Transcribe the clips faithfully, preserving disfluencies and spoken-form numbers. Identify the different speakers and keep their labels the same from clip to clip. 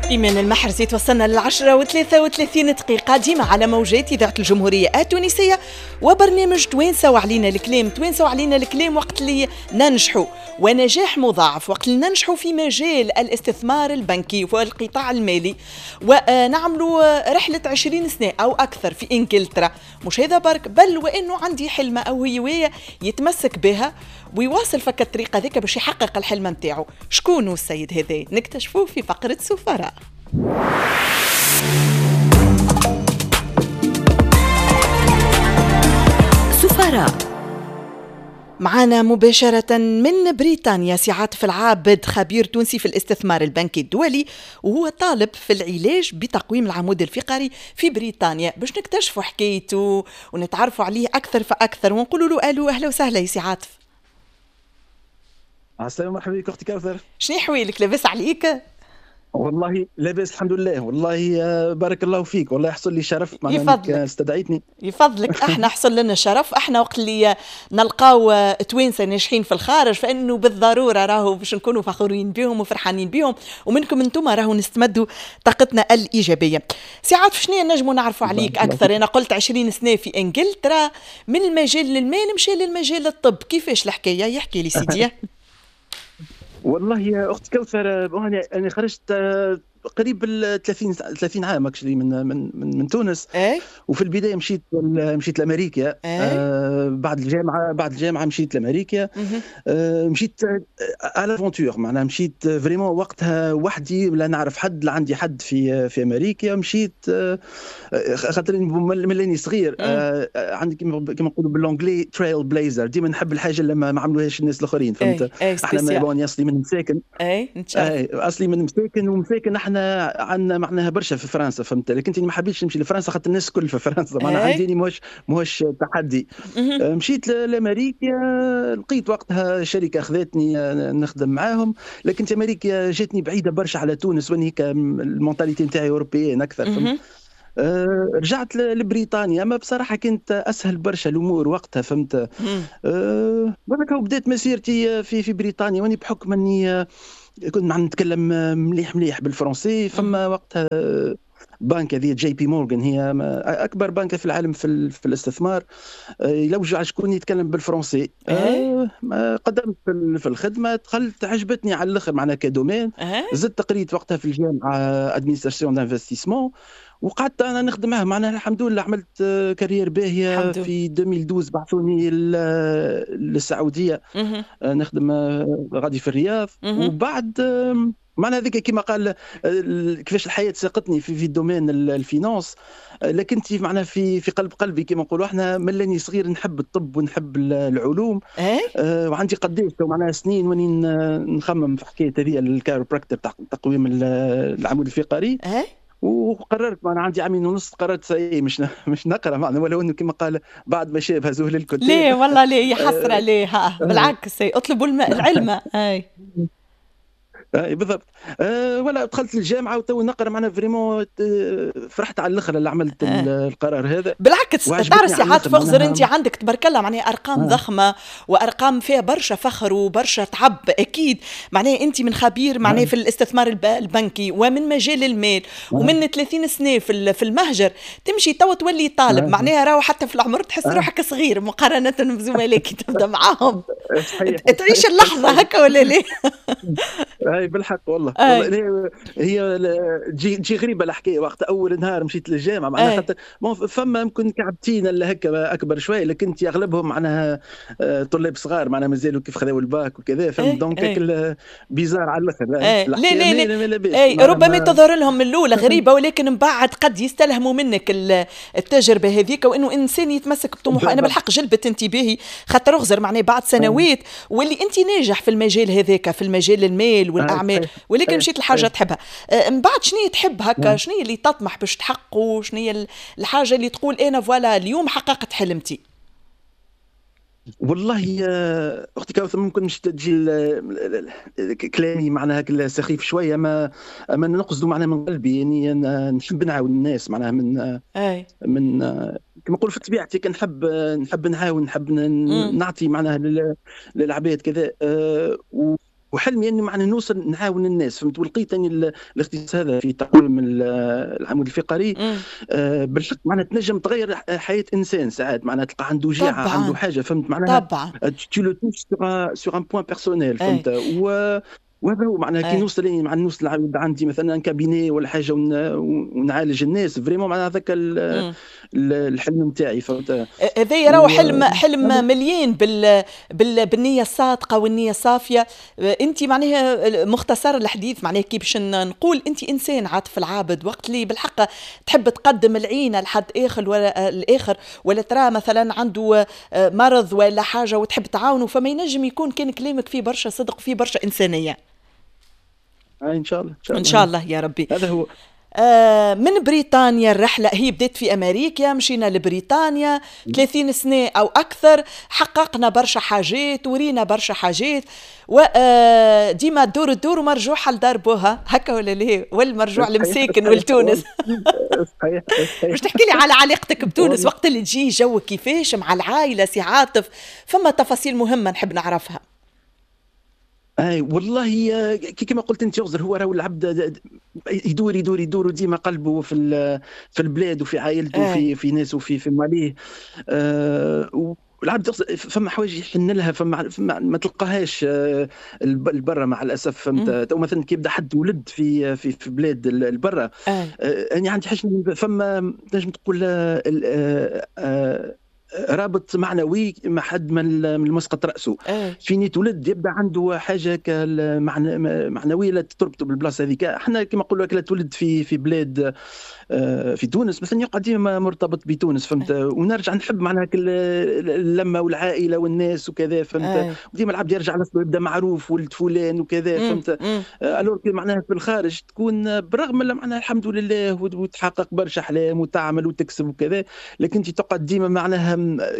Speaker 1: إيمان المحرزي توصلنا للعشرة وثلاثة وثلاثين دقيقة ديما على موجات إذاعة الجمهورية التونسية وبرنامج توانسة وعلينا الكلام. توانسة وعلينا الكلام وقت اللي ننجحوا، ونجاح مضاعف وقت اللي ننجحوا في مجال الاستثمار البنكي والقطاع المالي، ونعملوا رحلة عشرين سنة أو أكثر في إنجلترا. مش هذا برك، بل وإنه عندي حلمة أو هواية يتمسك بها ويواصل فك الطريقة ذيك باش يحقق الحلم نتاعو. شكون هو السيد هذا؟ نكتشفوه في فقرة سفراء. سفراء معنا مباشرة من بريطانيا سي عاطف العابد، خبير تونسي في الاستثمار البنكي الدولي، وهو طالب في العلاج بتقويم العمود الفقري في بريطانيا، باش نكتشفوا حكايته ونتعرفوا عليه أكثر فأكثر ونقولوا له ألو أهلا وسهلا يا سي عاطف.
Speaker 2: السلام، مرحبا بك أختي كوثر.
Speaker 1: شنو حوالك؟ لاباس عليك؟
Speaker 2: والله لاباس الحمد لله. والله بارك الله فيك، والله يحصل لي شرف معناها انك استدعيتني.
Speaker 1: يفضلك، احنا حصل لنا شرف. احنا وقت اللي نلقاو توانسة ناجحين في الخارج فانه بالضرورة راهو باش نكونوا فخورين بهم وفرحانين بهم، ومنكم انتم راهو نستمدوا طاقتنا الايجابية. سي عاطف، شنو نجموا نعرفوا عليك اكثر؟ انا قلت عشرين سنة في انجلترا، من المجال للمال مشى للمجال الطب، كيفاش الحكاية؟ يحكي لي سيدي.
Speaker 2: والله يا اخت كوثر، انا انا خرجت قريب ال ثلاثين ثلاثين عام actually من من من, من تونس.
Speaker 1: ايه؟
Speaker 2: وفي البداية مشيت مشيت لامريكا.
Speaker 1: ايه؟
Speaker 2: آه بعد الجامعة بعد الجامعة مشيت لامريكا. آه مشيت à l'aventure، معناها مشيت vraiment وقتها وحدي، لا نعرف حد، لا عندي حد في في امريكا. مشيت آه خاطر ملاني صغير، آه عندي كيما نقولوا ب l'anglais trailblazer، ديما نحب الحاجة اللي ما عملوهاش الناس الاخرين، فهمت؟
Speaker 1: ايه.
Speaker 2: احنا bon اصلي من مساكن.
Speaker 1: اي
Speaker 2: اي اصلي من مساكن، ومساكن احنا عندنا معناها برشا في فرنسا، فهمت؟ لكن انت ما حبيتش نمشي لفرنسا خاطر الناس الكل في فرنسا، معناها عندي ماهوش ماهوش تحدي. مشيت لامريكا، لقيت وقتها شركة اخذتني نخدم معاهم، لكن امريكا جاتني بعيدة برشا على تونس، واني ال mentalité نتاعي européenne اكثر، فهمت؟ أه رجعت لبريطانيا، اما بصراحة كانت اسهل برشا الامور وقتها، فهمت؟ أه بدات مسيرتي في في بريطانيا، واني بحكم اني كنت مع نتكلم مليح مليح بالفرنسي، فما وقتها بنك هذه جي بي مورغان، هي اكبر بنك في العالم في, في الاستثمار، يلوجوا على شكون يتكلم بالفرنسي.
Speaker 1: أه
Speaker 2: قدمت في الخدمة، دخلت، عجبتني على الاخر معناها ك domaine. زدت قريت وقتها في الجامعة administration d'investissement، وقعدت انا نخدم معاه، معناها الحمد لله عملت carrière باهيه. في ألفين واثنا عشر بعثوني للسعودية نخدم غادي في الرياض. وبعد معناها هذيك كما قال كيفاش الحياة ساقتني في في domaine ال finance، لكن انت معناها في في قلب قلبي كما نقولوا احنا، ملاني صغير نحب الطب ونحب العلوم.
Speaker 1: أه؟
Speaker 2: آه وعندي قداش معناها سنين واني نخمم في حكاية هذه ال chiropractor تاع تقويم العمود الفقري.
Speaker 1: أه؟
Speaker 2: وقررت معنا عندي عامين ونص، قررت سي مش مش نقرا معنا، ولو انه كما قال بعد ما شاب هزوه للكتاب.
Speaker 1: ليه والله ليه يا حسرة ليه، ها بالعكس اطلبوا العلم. اي
Speaker 2: اي بالضبط. أه ولا دخلت الجامعة وتو نقرا معنا vraiment فرحت على الاخر اللي عملت أه. القرار هذا.
Speaker 1: بالعكس تعرف سي عاطف اخزر، انت عندك تبارك الله معناها ارقام أه. ضخمة وارقام فيها برشا فخر وبرشا تعب اكيد، معناها انت من خبير معناها أه. في الاستثمار البنكي ومن مجال المال أه. ومن ثلاثين سنة في في المهجر، تمشي تو تولي طالب أه. معناها راهو حتى في العمر تحس أه. روحك صغير مقارنة بزملائك تبدا معاهم تعيش اللحظة هكا ولا ليه؟
Speaker 2: اي بالحق والله. والله هي تجي تجي غريبة الحكاية. وقت اول نهار مشيت للجامعة معناها خاطر فما يمكن كعبتين اللي هكا اكبر شوية، لكن انت اغلبهم معناها طلاب صغار، معناها مازالوا كيف خذاو الباك وكذا، فهمت؟ donc bizarre على الاخر.
Speaker 1: لا لا لا اي ربما تظهر لهم من الاولى غريبة، ولكن من بعد قد يستلهموا منك التجربة هذيك، وانه انسان يتمسك بطموحه. انا بالحق جلبت انتباهي خاطر اغزر معناها بعد سنوات واللي انت ناجح في المجال هذاك، في المجال المال والاعمال، ولكن مشيت لحاجة تحبها. من بعد شنو تحب هكا؟ شنو اللي تطمح باش تحققه؟ شنو الحاجة اللي تقول انا voilà اليوم حققت حلمتي؟
Speaker 2: والله يا اختي كوثر ممكن مش تجي كلامي معناها سخيف شوية، ما ما نقصده معناها من قلبي، يعني انا نحب نعاون الناس معناها من
Speaker 1: أي.
Speaker 2: من كما نقول في طبيعتي كنحب نحب نعاون، نحب نعطي معناها للعباد كذا. وحلمي اني معناها نوصل نعاون الناس، فهمت. ولقيت اني الاختصاص هذا في تقويم العمود الفقري آه بالحق معناها تنجم تغير حياة انسان ساعات، معناها تلقى عنده وجيعه، عنده حاجه، فهمت معناها
Speaker 1: طبعا
Speaker 2: tu le touches sur un point personnel، فهمت. و وهذا هو معناها كي نوصل يعني مع نوصل عندي مثلا cabinet ولا حاجة ونعالج الناس vraiment، معناها هذاك الحلم نتاعي، فهمت.
Speaker 1: هذا راهو حلم حلم مليان بال... بال... بالنية الصادقة والنية الصافيه. انت معناها مختصر الحديث معناها كي باش نقول انت انسان عاطف العابد، وقت اللي بالحق تحب تقدم العينة لحد اخر ولا الاخر، ولا ترى مثلا عنده مرض ولا حاجة وتحب تعاونه، فما ينجم يكون كان كلامك فيه برشا صدق وفيه برشا انسانيه.
Speaker 2: ان شاء الله،
Speaker 1: ان شاء الله يا ربي.
Speaker 2: هذا هو.
Speaker 1: آه من بريطانيا الرحلة هي بدأت في أمريكا، مشينا لبريطانيا ثلاثين سنة أو أكثر، حققنا برشا حاجات ورينا برشا حاجات، وديما الدور الدور ومرجوحة لدار بوها، هكا ولا ليه؟ والمرجوع لمساكن ولتونس.
Speaker 2: صحيح.
Speaker 1: باش تحكي لي على علاقتك بتونس وقت اللي تجي جو كيفاش مع العائلة سي عاطف، فما تفاصيل مهمة نحب نعرفها.
Speaker 2: اي والله كما قلت انت يغزر، هو راهو العبد يدور يدور يدور وديما قلبه في في البلاد وفي عائلته وفي في ناسه وفي في ماليه. أه والعبد فما حوايج يحن لها، فما, فما ما تلقاهاش البرة مع الاسف، فهمت. تو مثلا كي يبدا حد ولد في في في بلاد البرة، انا يعني عندي حاجة فما تنجم تقول رابط معنوي مع حد من المسقط راسه. أه. فين يتولد يبدا عنده حاجة معنوية لا تربطه بالبلاصه هذيك. احنا كما نقولوا لا تولد في في بلاد في تونس مثلا يقعد ديما مرتبط بتونس، فهمت. أه. ونرجع نحب معناها اللمة والعائلة والناس وكذا، فهمت. أه. وديما العبد يرجع لأصله يبدا معروف ولد فلان وكذا، فهمت. alors معناها في الخارج تكون بالرغم من معناها الحمد لله وتحقق برشا احلام وتعمل وتكسب وكذا، لكن انت تقعد ديما معناها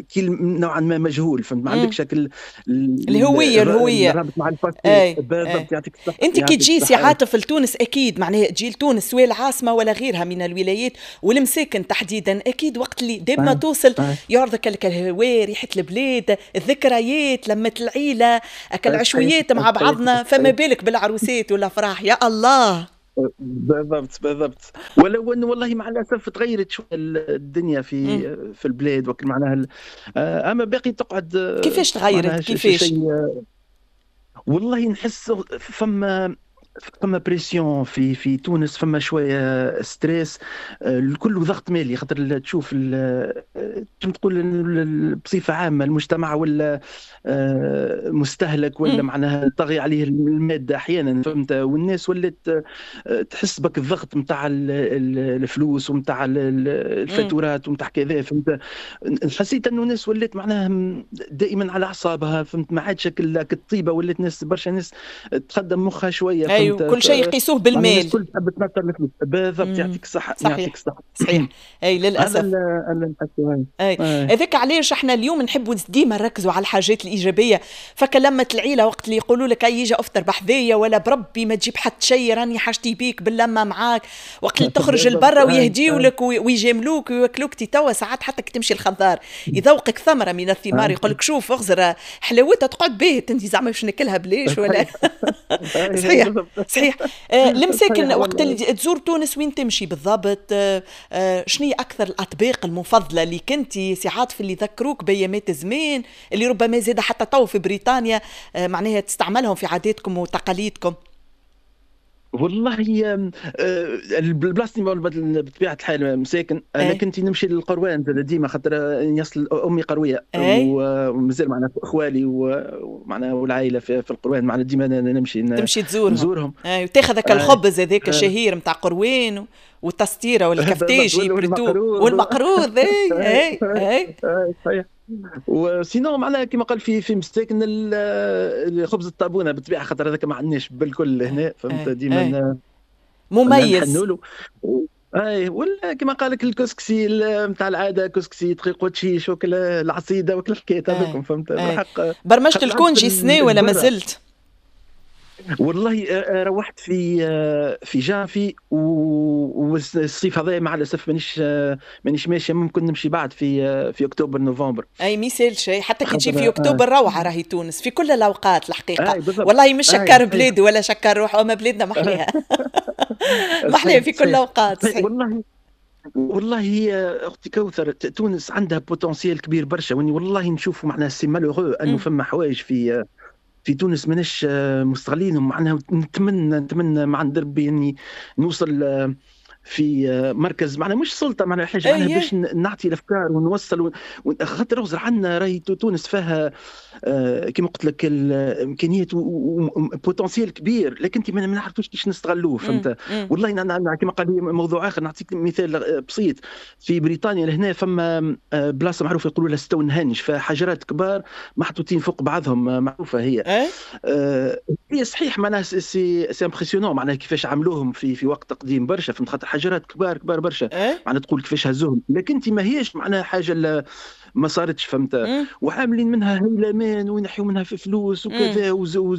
Speaker 2: كي نوعا ما مجهول، فهمت. ما عندكش شكل
Speaker 1: الهوية الهوية
Speaker 2: الرابط مع ال passé. بالضبط، يعطيك الصحة.
Speaker 1: انت كي تجي سي عاطف لتونس اكيد معناها تجي لتونس سواء العاصمة ولا غيرها من الولايات والمساكن تحديدا، اكيد وقت اللي ديما توصل يعرضك لك الهواء، ريحه البلاد، الذكريات، لمه العيلة، العشويات مع بعضنا، فما بالك بالعروسات والافراح يا الله.
Speaker 2: بالضبط بالضبط. ولو انه والله مع الاسف تغيرت شوية الدنيا في مم. في البلاد وكل معناها، اما باقي تقعد.
Speaker 1: كيفاش تغيرت؟ كيفاش؟
Speaker 2: والله نحس فما فما pression في في تونس، فما شوية stress، الكل ضغط مالي، خاطر تشوف تقول بصفة عامة المجتمع ولا مستهلك ولا معناها طغي عليه المادة احيانا، فهمت. والناس ولات تحس بك الضغط نتاع الفلوس ونتاع الفاتورات ونتاع كذا، فهمت. حسيت انه الناس ولات معناها دائما على اعصابها، فهمت. ما عادش الطيبة، ولات ناس برشا ناس تخدم مخها شوية.
Speaker 1: أيوة، كل شيء يقيسوه بالمال.
Speaker 2: الكل تحب تنطر الفلوس. بالضبط، يعطيك الصحة.
Speaker 1: صحيح.
Speaker 2: يعطيك الصحة.
Speaker 1: صحيح. اي للاسف
Speaker 2: هذا
Speaker 1: اي هذاك علاش احنا اليوم نحبوا ديما نركزوا على الحاجات الايجابية. فكلمة العيلة وقت اللي يقولوا لك اي يجي افطر بحذايا ولا بربي ما تجيب حتى شيء راني حاجتي بيك باللمه معاك، وقت اللي تخرج لبرا ويهديوا لك ويجاملوك ويوكلوك، توا ساعات حتى كي تمشي الخضار يذوقك ثمره من الثمار يقول لك شوف اغزر حلاوتها تقعد باهت انت زعما باش ناكلها بلاش ولا. صحيح صحيح. آه المساكن وقت اللي تزور تونس وين تمشي بالضبط؟ آه آه شنو هي اكثر الاطباق المفضلة اللي كنتي سي عاطف اللي ذكروك بأيامات زمان اللي ربما زاد حتى تو في بريطانيا آه معناها تستعملهم في عاداتكم وتقاليدكم؟
Speaker 2: والله البلاصة بطبيعة الحال مساكن، لكن كنت نمشي للقروان ديما خاطر يصل امي قرويه ومازال معنا اخوالي ومعنا والعائلة في القروان، معنا ديما نمشي
Speaker 1: تمشي تزورهم
Speaker 2: نزورهم.
Speaker 1: اي وتاخذ هذاك الخبز هذاك الشهير نتاع قروان والتستيره والكفتاجي والمقروض. اي اي اي
Speaker 2: صحيح. و sinon معناها كما قال في في مساكن خبز الطابونه بالطبيعة خاطر هذاك ما عندناش بالكل هنا، فهمت. ديما
Speaker 1: مميز
Speaker 2: اي. ولا كما قال لك الكسكسي نتاع العادة، كسكسي دقيق وتشيش وكل العصيده وكل الحكايات هذوكم، فهمت. بالحق
Speaker 1: برمجت ال congé سنة ولا ما زلت؟
Speaker 2: والله روحت في في جانفي، والصيف هذا مع الاسف مانيش مانيش ماشي، ممكن نمشي بعد في في اكتوبر نوفمبر.
Speaker 1: اي ما يسالش، حتى كي تجي في اكتوبر روعه راهي تونس في كل الاوقات الحقيقة. والله مش شكر بلادي ولا شكر روحه، اما بلادنا محليها محليها في كل الاوقات.
Speaker 2: والله والله هي اختي كوثر، تونس عندها potentiel كبير برشا، واني والله نشوفوا معناها c'est malheureux انه فما حوايج في في تونس ماناش مستغلينهم. معناها نتمنى نتمنى مع ربي اني نوصل في مركز معناها مش سلطة، معناها حاجة معناها باش نعطي الافكار ونوصل. خاطر اغزر عندنا راهي تونس فيها كما قلت لك الامكانيات و potentiel كبير، لكن انت ما نعرفوش كيفاش نستغلوه، فهمت؟ والله أنا كما قال لي موضوع اخر، نعطيك مثال بسيط. في بريطانيا لهنا فما بلاصة معروفة يقولوا لها ستونهنج، فحجرات كبار محطوطين فوق بعضهم، معروفة هي. آه هي صحيح معناها c'est c'est impressionnant معناها كيفاش عملوهم في في وقت قديم برشا، فهمت؟ خاطر حجرات كبار كبار برشا، معناها تقول كيفاش هزوهم، لكن انت ما هيش معناها حاجة ما صارتش، فهمت؟ وعاملين منها هيلمان وينحيوا منها في فلوس وكذا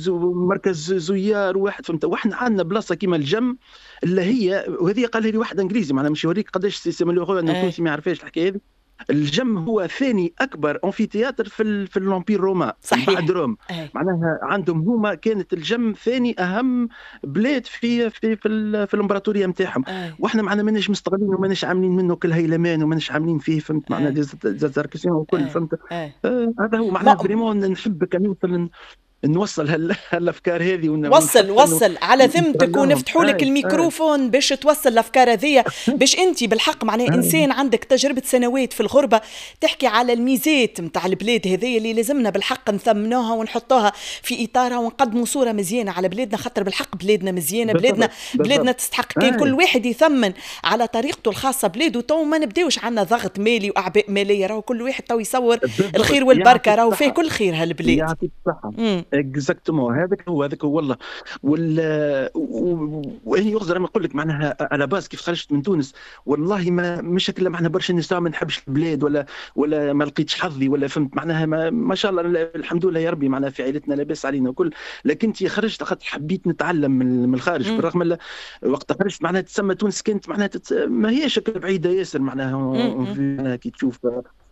Speaker 2: ومركز زيار واحد، فهمت؟ واحنا عندنا بلاصة كيما الجم اللي هي، وهذه قالها لي واحد انجليزي، معناها مش يوريك قداش c'est malheureux انه التونسي ما يعرفهاش الحكاية هذه. الجم هو ثاني اكبر amphithéâtre في ال في l'empire romain،
Speaker 1: صحيح،
Speaker 2: بعد Rome.
Speaker 1: أي.
Speaker 2: معناها عندهم هما كانت الجم ثاني اهم بلاد في في في, في الامبراطورية نتاعهم، واحنا معنا ماناش مستغلين وماناش عاملين منه كل هيلمان وماناش عاملين فيه، فهمت؟ معناها des attractions وكل، فهمت؟ آه هذا هو معناها vraiment نحب كان نوصل نوصل هالافكار هذه ون...
Speaker 1: وصل وصل على ذمتك ونفتحوا لك الميكروفون باش توصل الافكار هذه، باش انت بالحق معناها انسان عندك تجربه سنوات في الغربة تحكي على الميزات نتاع البلاد هذه اللي لازمنا بالحق نثمنوها ونحطوها في اطارها ونقدموا صوره مزيانه على بلادنا، خاطر بالحق بلادنا مزيانه، بلادنا بلادنا تستحق كان كل واحد يثمن على طريقته الخاصة بلاده. تو ما نبداوش عندنا ضغط مالي واعباء ماليه، راهو كل واحد تو يصور الخير والبركة، راهو فيه كل خير هالبلاد.
Speaker 2: يعطيك الصحة. exactement، هذاك هو هذاك هو والله. وال واني يغزر انا نقول لك معناها à la base كيف خرجت من تونس والله ما مش هكا معناها برشا ناس ما نحبش البلاد ولا ولا ما لقيتش حظي ولا، فهمت؟ معناها ما, ما شاء الله الحمد لله يا ربي معناها في عائلتنا لاباس علينا وكل، لكن انت خرجت خاطر حبيت نتعلم من الخارج. بالرغم وقت خرجت معناها تسمى تونس كانت معناها تت... ما هيش بعيدة ياسر معناها كي تشوف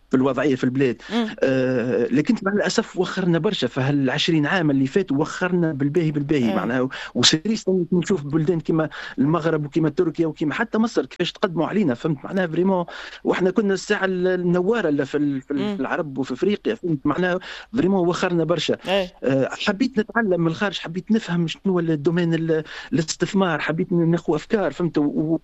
Speaker 2: في الوضعية في البلاد. آه لكن مع الاسف وخرنا برشا في هالعشرين عام اللي فاتوا، وخرنا بالباهي بالباهي معناها. و c'est triste نشوف بلدان كما المغرب وكما تركيا وكما حتى مصر كيفاش تقدموا علينا، فهمت؟ معناها vraiment واحنا كنا الساعة النواره اللي في, في العرب وفي افريقيا، فهمت؟ معناها vraiment وخرنا برشا. آه حبيت نتعلم من الخارج، حبيت نفهم شنو ال domaine الاستثمار، حبيت ناخذ افكار، فهمت؟ و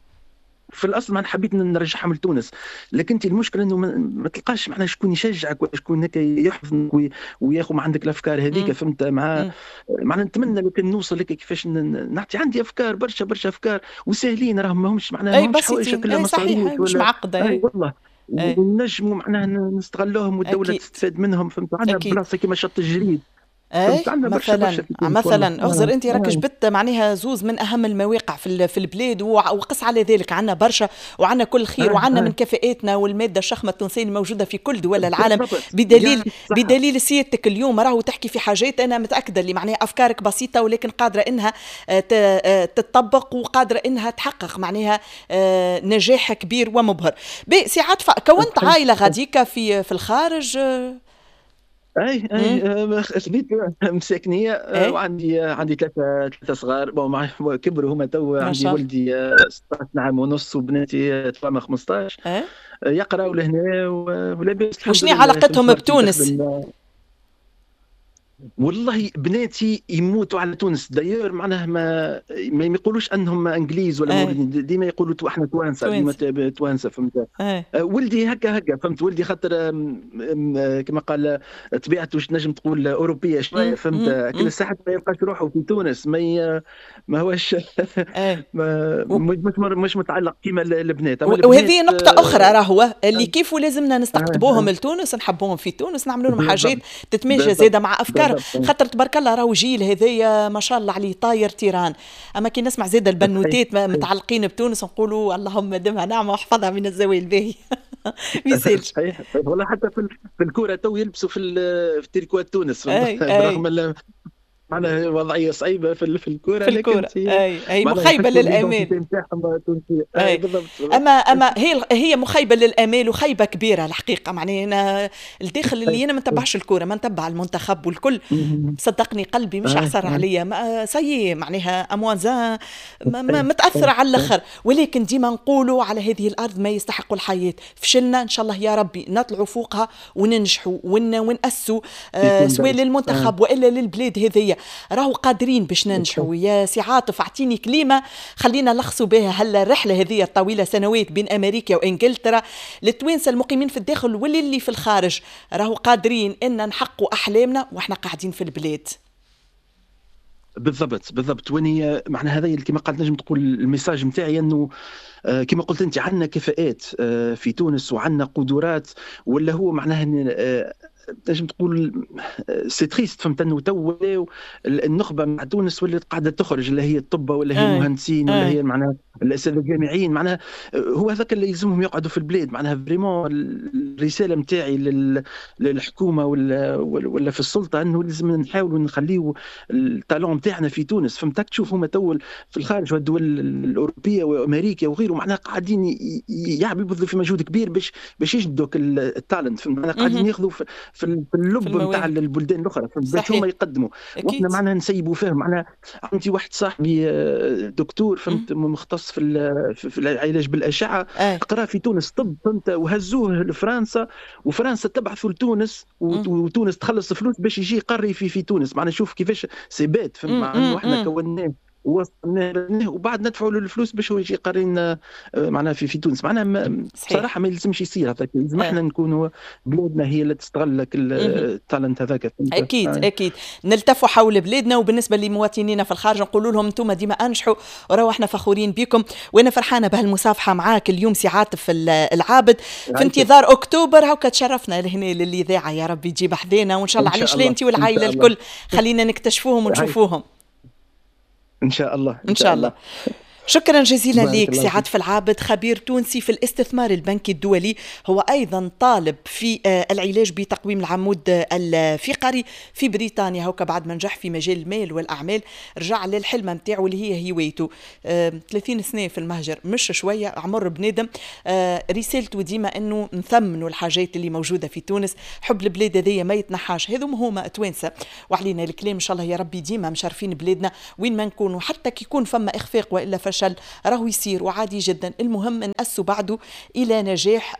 Speaker 2: في الاصل ما حبيت نرجعهم لتونس، لكن انت المشكلة انه ما تلقاش معناها شكون يشجعك ولا شكون هكا يحفظك وياخذ ما عندك الافكار هذيك، فهمت؟ مع معناها نتمنى لو كان نوصل لك كيفاش نعطي، عندي افكار برشا برشا افكار وساهلين راهم، ماهمش معناها
Speaker 1: ماهمش حوايج كلها مصاريف
Speaker 2: مش
Speaker 1: معقدة.
Speaker 2: اي والله ونجموا معناها نستغلوهم والدولة أكيد. تستفاد منهم، فهمت؟ عندنا بلاصة كيما شط الجريد
Speaker 1: اي مثلا مثلا اغزر انت راك جبت معناها زوز من اهم المواقع في في البلاد، وقس على ذلك عندنا برشا وعندنا كل خير وعندنا من كفاءاتنا والمادة الشخمه التونسية الموجودة في كل دول العالم، بدليل بدليل سيادتك اليوم راهو تحكي في حاجات انا متاكدة اللي معناها افكارك بسيطة ولكن قادرة انها تتطبق وقادرة انها تحقق معناها نجاح كبير ومبهر. سي عاطفة، كونت عائلة غاديكا في في الخارج؟
Speaker 2: اي اي خذيت مساكنيه وعندي عندي ثلاثة ثلاثة صغار، bon كبروا هما تو، عندي ولدي ستة عشر عام ونص وبناتي توامه خمسطاش، يقراوا لهنا ولاباس.
Speaker 1: وشنو علاقتهم بتونس؟
Speaker 2: والله بناتي يموتوا على تونس، d'ailleurs معناها ما ما يقولوش انهم انجليز ولا مولودين، ديما يقولوا احنا توانسة، ديما توانسة، فهمت؟ ولدي هكا هكا، فهمت؟ ولدي خاطر كما قال طبيعته نجم تقول اوروبية شوية، فهمت؟ كل الساعات ما يلقاش روحه في تونس، ما ما هوش مش مش متعلق كيما البنات.
Speaker 1: وهذه نقطة اخرى راهو اللي كيف لازمنا نستقطبوهم لتونس، نحبوهم في تونس، نعملوا لهم حاجات تتماشى زاده مع افكار، خاطر تبارك الله راهو جيل هذايا ما شاء الله عليه طاير تيران. اما كي نسمع زاد البنوتات متعلقين بتونس نقولوا اللهم دمها نعمه واحفظها من الزوال باهي. ما يسالش.
Speaker 2: صحيح والله، حتى في الكورة تو يلبسوا في في تريكوات تونس، برغم معناها وضعية صعيبة في في الكورة،
Speaker 1: في الكورة اي اي مخيبه للامال.
Speaker 2: اي بالضبط.
Speaker 1: اما اما هي هي مخيبه للامال وخيبه كبيرة الحقيقة. معناها انا الداخل اللي انا ما نتبعش الكورة، ما نتبع المنتخب والكل، صدقني قلبي مش عصر عليا، ça y est معناها à moins un متاثرة على الاخر. ولكن ديما نقولوا على هذه الارض ما يستحق الحياة. فشلنا، ان شاء الله يا ربي نطلعوا فوقها وننجحوا ون ونأسوا آه سواء للمنتخب والا للبلاد هذيا، راهو قادرين باش ننجحوا. يا سي عاطف اعطيني كلمة خلينا نلخصوا بها هلا الرحلة هذه الطويلة سنوات بين امريكا وانجلترا للتوانسه المقيمين في الداخل واللي في الخارج، راهو قادرين ان نحققوا احلامنا واحنا قاعدين في البلاد.
Speaker 2: بالضبط بالضبط. وين معناها هذا كما قلت نجم تقول ال message نتاعي انه كما قلت انت عندنا كفاءات في تونس وعندنا قدرات، ولا هو معناها تنجم تقول c'est triste، فهمت، انه تو ولاو النخبة مع تونس ولات قاعدة تخرج، اللي هي الطب ولا هي المهندسين ولا هي معناها الاساتذة الجامعيين، معناها هو هذاك اللي يلزمهم يقعدوا في البلاد. معناها vraiment الرسالة نتاعي للحكومة ولا ولا في السلطة انه لازم نحاولوا نخليو ال talent نتاعنا في تونس، فهمت. تشوف هما تو في الخارج والدول الاوروبية وامريكا وغيره معناها قاعدين يبذلوا في مجهود كبير باش باش يجبدوا ال talent، فهمت، معناها قاعدين ياخذوا في في اللب نتاع البلدان الاخرى باش هما يقدموا، واحنا معناها نسيبوا فيهم. معناها عندي واحد صاحبي دكتور، فهمت، مختص في في العلاج بالاشعه، قرا في تونس طب، فهمت، وهزوه لفرنسا، وفرنسا تبعثوا لتونس، وتونس تخلص فلوس باش يجي يقري في في تونس. معناها شوف كيفاش c'est bête، فهمت، معناها احنا كوناه وصلناه وبعد ندفعوا له الفلوس باش هو يجي يقري لنا معناها في في تونس. معناها بصراحة ما يلزمش يصير هذاك، لازم احنا نكونوا بلادنا هي اللي تستغل لك ال talent هذاك.
Speaker 1: اكيد آه. اكيد نلتفوا حول بلادنا. وبالنسبة لمواطنينا في الخارج نقولوا لهم انتم ديما انجحوا، وراو احنا فخورين بكم. وانا فرحانة بهالمصافحه معاك اليوم سي عاطف العابد، في انتظار اكتوبر هاكا تشرفنا لهنا للاذاعة، يا ربي تجيب حذينا وان شاء الله. علاش لا، انت والعائلة الكل خلينا نكتشفوهم ونشوفوهم
Speaker 2: ان شاء الله.
Speaker 1: ان شاء الله. شكرا جزيلا لك سي عاطف العابد، خبير تونسي في الاستثمار البنكي الدولي، هو أيضا طالب في العلاج بتقويم العمود الفقري في بريطانيا. هوكا بعد ما نجح في مجال المال والأعمال رجع للحلمة نتاعو اللي هي هوايته. ثلاثين سنة في المهجر مش شوية عمر بنادم. رسالته ديما أنه نثمنوا الحاجات اللي موجودة في تونس، حب البلاد هذيا ما يتنحاش، هذوما هما توانسة وعلينا الكلام. إن شاء الله يا ربي ديما مشرفين بلادنا وين ما نكونوا، حتى كي يكون فما إخفاق وإلا فشل راهو يصير وعادي جدا، المهم نأسوا بعده إلى نجاح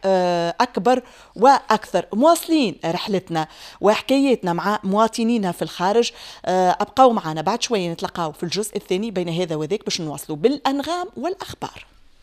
Speaker 1: أكبر وأكثر. مواصلين رحلتنا وحكاياتنا مع مواطنينا في الخارج، أبقوا معنا بعد شوية نتلقاو في الجزء الثاني بين هذا وذاك باش نواصلوا بالأنغام والأخبار.